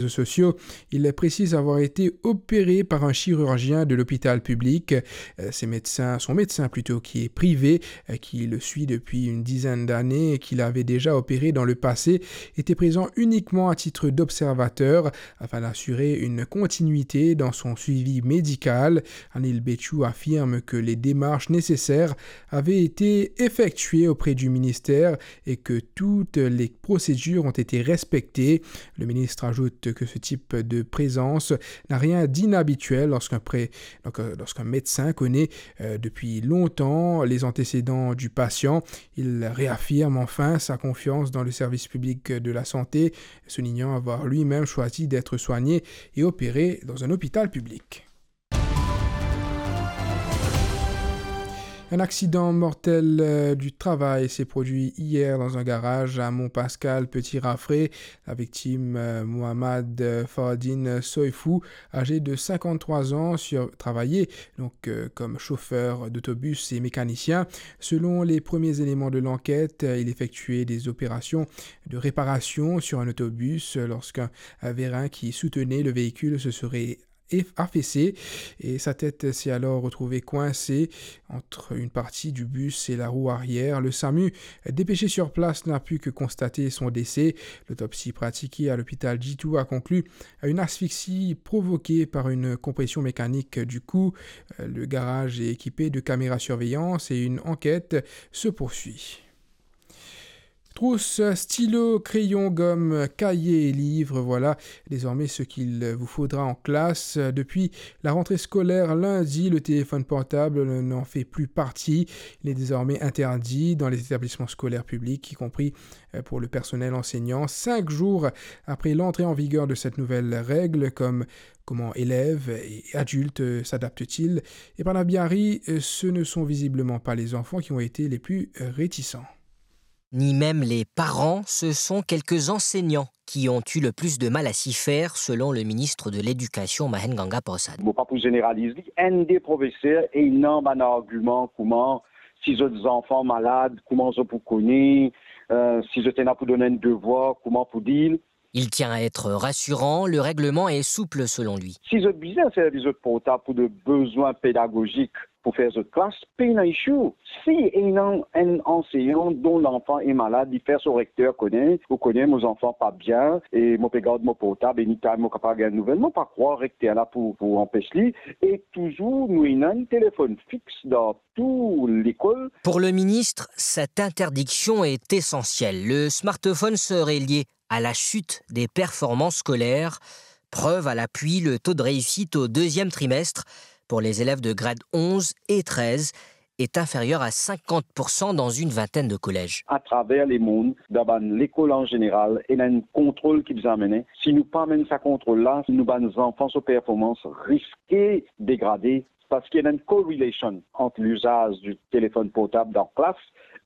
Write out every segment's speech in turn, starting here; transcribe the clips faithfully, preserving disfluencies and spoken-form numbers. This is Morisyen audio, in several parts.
réseaux sociaux, il précise avoir été opéré par un chirurgien de l'hôpital public. Euh, ses médecins, son médecin plutôt, qui est privé, euh, qui le suit depuis une dizaine d'années et qui l'avait déjà opéré dans le passé, était présent uniquement à titre d'observateur afin d'assurer une continuité dans son suivi médical. Anil Bechoo affirme que les démarches nécessaires avaient été effectuées auprès du ministère et que toutes les procédures ont été respectées. Le ministre ajoute que ce type de présence n'a rien d'inhabituel lorsqu'un pré-, donc, euh, lorsqu'un médecin connaît, euh, depuis longtemps les antécédents du patient. Il réaffirme enfin sa confiance dans le service public de la santé, soulignant avoir lui-même choisi d'être soigné et opéré dans un hôpital public. Un accident mortel, euh, du travail s'est produit hier dans un garage à Mont-Pascal, Petit Rafré. La victime, euh, Mohamed, euh, Fardine Soifou, âgé de cinquante-trois ans, sur-, travaillait donc, euh, comme chauffeur d'autobus et mécanicien. Selon les premiers éléments de l'enquête, euh, il effectuait des opérations de réparation sur un autobus, euh, lorsqu'un, euh, vérin qui soutenait le véhicule se serait eff-, affaissé et sa tête s'est alors retrouvée coincée entre une partie du bus et la roue arrière. Le SAMU, dépêché sur place, n'a pu que constater son décès. L'autopsie pratiquée à l'hôpital Djitou a conclu à une asphyxie provoquée par une compression mécanique du cou. Le garage est équipé de caméras surveillance et une enquête se poursuit. Trousse, stylo, crayon, gomme, cahier et livres, voilà désormais ce qu'il vous faudra en classe. Depuis la rentrée scolaire lundi, le téléphone portable n'en fait plus partie. Il est désormais interdit dans les établissements scolaires publics, y compris, euh, pour le personnel enseignant. Cinq jours après l'entrée en vigueur de cette nouvelle règle, comme, comment élèves et adultes s'adaptent-ils ? Epana Biari, euh, ce ne sont visiblement pas les enfants qui ont été les plus, euh, réticents. Ni même les parents, ce sont quelques enseignants qui ont eu le plus de mal à s'y faire, selon le ministre de l'Éducation, Mahen Ganga Persad. Mo pa pou zeneraliz li, enn de profeser ena bann argiman kouma si zot zanfan malad, kouma zot pou kone, euh, si zot ena pou donn enn devwar, kouma pou dir. Il tient à être rassurant, le règlement est souple selon lui. Si zot bizin servi zot portab pou de bezwin pedagozik pou fer zot klas, pena issue. Si ena enn anseyan donn lanfan e malad, li fer so rekter kone, ou kone mo zanfan pa bien e mo pe gard mo portab, anytime mo kapav gagn nouvel, mo pa krwar rekter la pou, pou anpes li. E touzour nou ena enn telefonn fix dan tou lekol. Pour le ministre, cette interdiction est essentielle. Le smartphone serait lié à la chute des performances scolaires. Preuve à l'appui, le taux de réussite au deuxième trimestre pour les élèves de grade onze et treize est inférieur à cinquante pour cent dans une vingtaine de collèges. Atraver lemond, dan bann lekol an zeneral, ena enn kontrol ki bizin mennen. Si nou pa mennen sa kontrol la, nou bann zanfan so performans riske degrade. Parski ena enn correlation ant lizaz di telefonn portab dan klas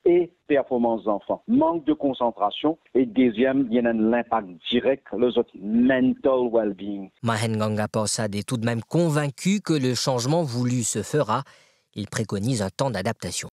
e performans zanfan. Mank de konsantrasion e deziem, li ena enn linpak direk lor zot mental well-being. Mahen Ganga Persad est tout de même convaincu que le changement voulu se fera. Il préconise un temps d'adaptation.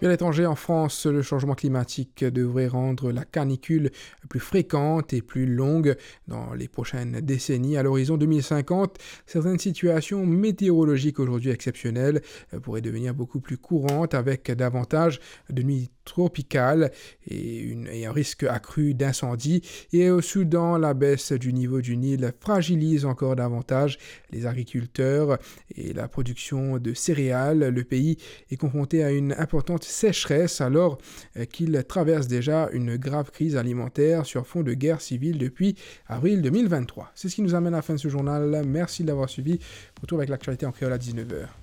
Et à l'étranger, en France, le changement climatique devrait rendre la canicule plus fréquente et plus longue dans les prochaines décennies. À l'horizon deux mille cinquante, certaines situations météorologiques aujourd'hui exceptionnelles, euh, pourraient devenir beaucoup plus courantes avec davantage de nuits tropicales et une, et un risque accru d'incendie. Et au Soudan, la baisse du niveau du Nil fragilise encore davantage les agriculteurs et la production de céréales. Le pays est confronté à une importante sécheresse alors, euh, qu'il traverse déjà une grave crise alimentaire sur fond de guerre civile depuis avril deux mille vingt-trois. C'est ce qui nous amène à la fin de ce journal. Merci de l'avoir suivi. Retour avec l'actualité en créole à dix-neuf heures.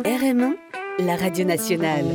R M un, la radio nationale.